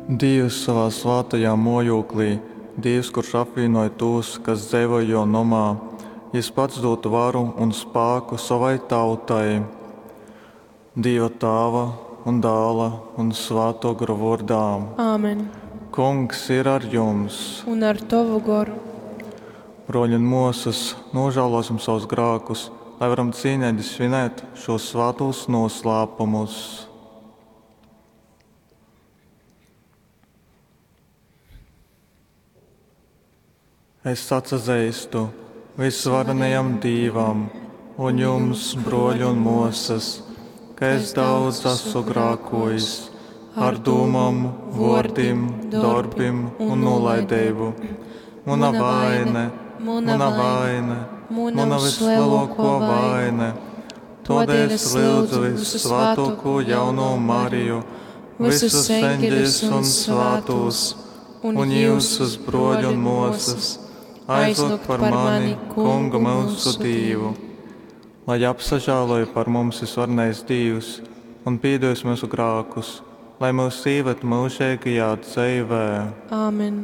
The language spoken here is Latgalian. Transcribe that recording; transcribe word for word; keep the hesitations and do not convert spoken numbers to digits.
Dīvs sovā svātajā mōjūklī, Dīvs, kurš apvīnoj tūs, kas dzeivoj jō nomā, jys pats dūd varu un spāku sovai tautai. Dīva Tāva un Dāla un Svātō Gora vōrdā. Āmen. Kungs ir ar jums! Un ar tovu goru. Brōļi un mōsas, nūžālōsim sovus grākus, lai varam cīneigi svinēt šūs svātūs nūslāpumus. Es atsazeistu vysvarenajam Dīvam un jums, brōļi un mōsas, ka es daudz esmu grākōjis ar dūmom, vōrdim, dorbim un nūlaideibu. Muna vaine, muna vaine, muna vyslelōkō vaine. Tōdēļ es lyudzu vyssvātōkū jaunū Mariju, visus eņģeļus un svātūs, un jyusus, brōļi un mōsas, aizlyugt par mani Kungu myusu Dīvu. Lai apsažāloj par mums vysvarenais Dīvs un pīdūs myusu grākus, lai myus īved myužeigajā dzeivē. Āmen.